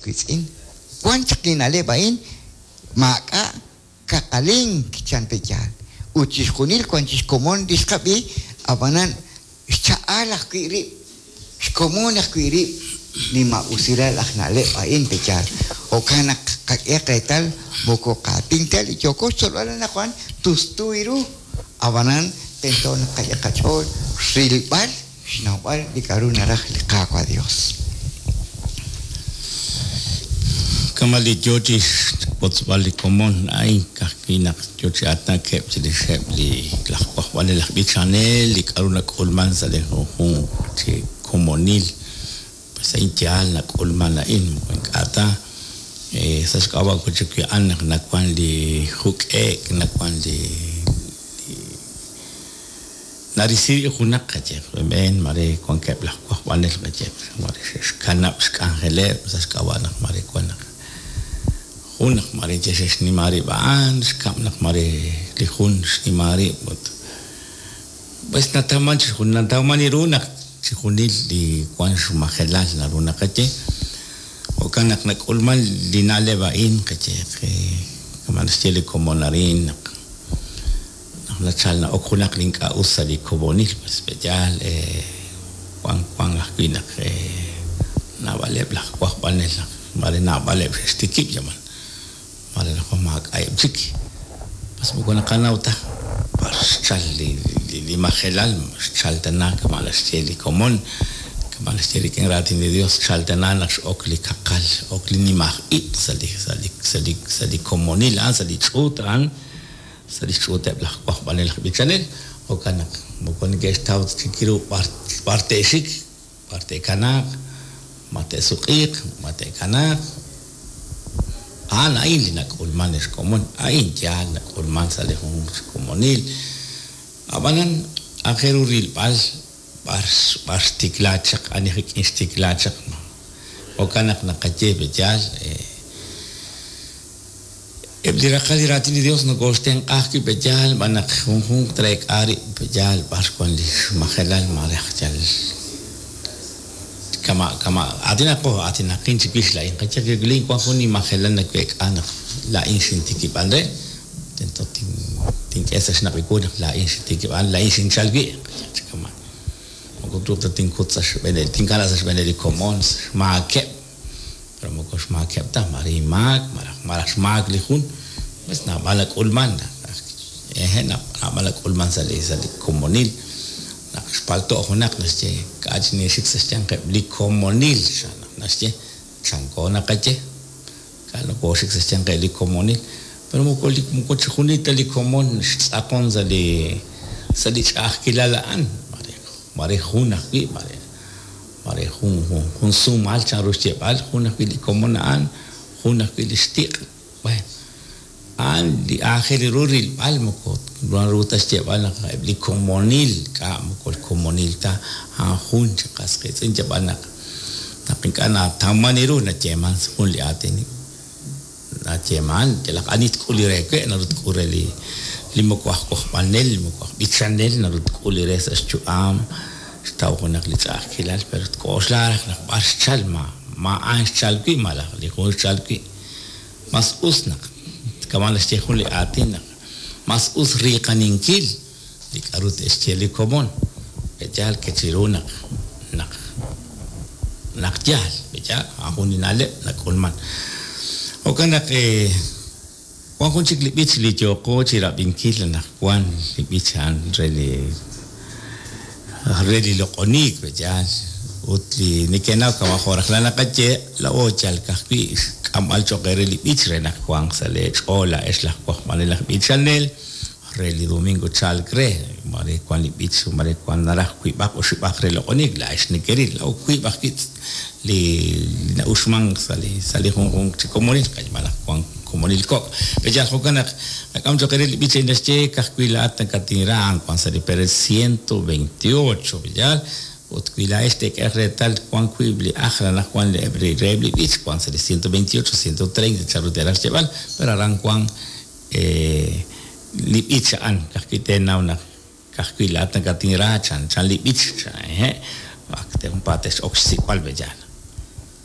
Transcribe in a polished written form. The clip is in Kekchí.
wiitz'in, wan chaq li na'leb' a'in, maak'a' kaqalink, chan pe' yaal. Ut chixjunil wan chi xkomon li xqab'i, ab'anan xcha'al ajwi' rib', xkomon ajwi' rib' li maa'usilal aj na'leb' a'in pe' yaal. Jo'kan naq qak'ehaq reetal moko qaatin ta li yooko xtzolb'al anaqwan tustu ru, ab'anan tento naq qak'e qach'ool rilb'al xnawb'al li k'a'ru naraj li Qaawa' Dios. Kama' li yoo chi xwotzb'al li komon a'in, ka'ajwi' naq yoo chi aatinakeb' chirixeb' li laj wajb'anel aj b'ichanel, li k'a'ru nak'ulman sa' li junjunq chi komonil, pues a'in yaal nak'ulman a'in, moko ink'a' ta sa' xk'ab'a' wi' chik a'an naq nawan li juk'e'k, nawan li Narisi rib' junaq qayehaq b'een mare wankeb' laj wajb'anel qayehaq mare xe'xkanab' xk'anjeleb' sa' xk'ab'a' naq mare wan naq jun naq mare yal xe'xnima rib' a'an, xkab' naq mare li jun xnima rib' ut pues natawman chi natawman ru naq chixjunil li wan xmajelal naru naqaye, jo'kan naq nak'ulman li na'leb' a'in qayehaq kama' naxye li komon arin naq Naq nachal na'ok junaq li ink'a' us sa' li komonil, pues pe'yaal wan wan ajwi' naq naab'aleb' laj wajb'anel naq mare naab'aleb' xe'xtikib' yaman mare anaqwan maak'a'eb' chik, pues moko naqanaw ta b'ar xchal li li majelal, xchal tana kama' naxye li komon, kama' naxye rik'in raatin li Dios, xchal tana naq x'ok li kaqal, x'ok li nimaj ib' sa' li sa' li sa' li sa' li komonil a'an, sa' li ch'uut a'an. Sa' li xch'uuteb' laj wajb'anel aj b'ichanel, jo'kan naq moko neke'xtaw ta chik ru b'ar te'xik, b'ar te'kanaaq, ma te'suq'iiq, ma te'kanaaq. A'an a'in li nak'ulman ex komon, a'in yaal nak'ulman sa' li junjunq chi komonil. A'b'anan, aajel ru rilb'al b'ar b'ar xtikla chaq, ani rik'in xtikla chaq. Jo'kan naq naqaye pe' yaal, Eb' li raqal li Raatin li Dios nokooxtenq'a ajwi' pe' yaal b'an naq junjunq treek'a rib' pe' yaal b'ar wan li xmajelal maare aj yal kama' kama' aatinaqo aatinaqin chiwix laa'in qayehaq laa'in wan jun inmajelal naweek'a naq laa'in xintikib'an re tento tink'e sa' xnaq' wu naq laa'in xintikib'an laa'in xinchal wi' qayehaq chi kama' moko truuq ta tinkut sa' xb'eeneb' tinkana' sa' xb'eeneb' li komon xmaakeb' Pero moko xmaakeb' ta, maare inmaak malaj malaj xmaak li jun, pues naab'al nak'ulman, hehe' naab'al nak'ulman sa' li sa' li komonil, naq xpalto' junaq naxye k'a' chi ninxik sa' xyanqeb' li komonil, chan naq naxye, chanko naqaye, k'a' nokooxik sa' xyanqeb' li komonil, pero moko li moko chixjunil ta li komon xtz'aqon sa' li sa' li ch'a'ajkilal a'an, maare maare jun ajwi', maare Mare jun jun sumal chanru xyeeb'al, jun ajwi' li komon a'an, jun ajwi' li xtiq'. Bueno, a'an li aajel ru rilb'al moko naru ta xyeeb'al naq eb' li komonil, k'a' moko komonil ta, a'an jun chi qas qiitz'in yab'al naq naq ink'a' natawman ru nayeeman jun li aatin nayeeman yalaq ani tk'ul li re we' naru tk'ul re li li moko aj wajb'anel, li moko aj b'ichanel naru tk'ul li re sa' xyu'am, xtaw junaq li ch'a'ajkilal pero tk'oxla raj naq b'ar xchal ma ma a'an xchal wi' malaj li jun xchal wi' mas us naq kama' naxye jun li aatin naq mas us riiqaninkil li k'a'ru te'xye li komon, pe'yaal ke chiru naq naq naq yaal, pe'yaal a'an jun li na'leb' nak'ulman. Jo'kan naq wan jun chik li b'ich li yooqo chirab'inkil anaqwan, li b'ich a'an re li re li loq'oniik, pe'yaal, ut li nekenaw kama' jo' rajlal naqaye, laa'o yal ka'ajwi' xk'amb'al choq' eere li b'ich re naq wanq sa' lee ch'ool laa'ex laj wajb'anel aj b'ichanel, Re li domingo chalk re, mare wan li b'ich, mare wan naraj wiib'aq oxib'aq re loq'oniik, laa'ex nekeril, laa'o wiib' ajwi' li na'uxmank sa' li sa' li junjunq chi komonil, malaj wan komonil kok'. Pe yal jo'kan naq nak'am cho'q eere li b'ich a'in naxye, Ka'ajwi' laa'at nakatinra, a'an wan sa' li perel 128, pe yaal? Ut wi laa'ex teek'ehaq reetal wan wiib' li ajl anaqwan li eb' reheb' li b'ich, wan sa' li 128, 130 chanru teeraj xyeeb'al, pero aran wan Li b'ich a'an, ka'ajwi' teenaw naq ka'ajwi' laa'at nakatinra, chanchan li b'ich, chan, hehe', ak te junpaat tex'ok xsik'b'al, pe'yaal.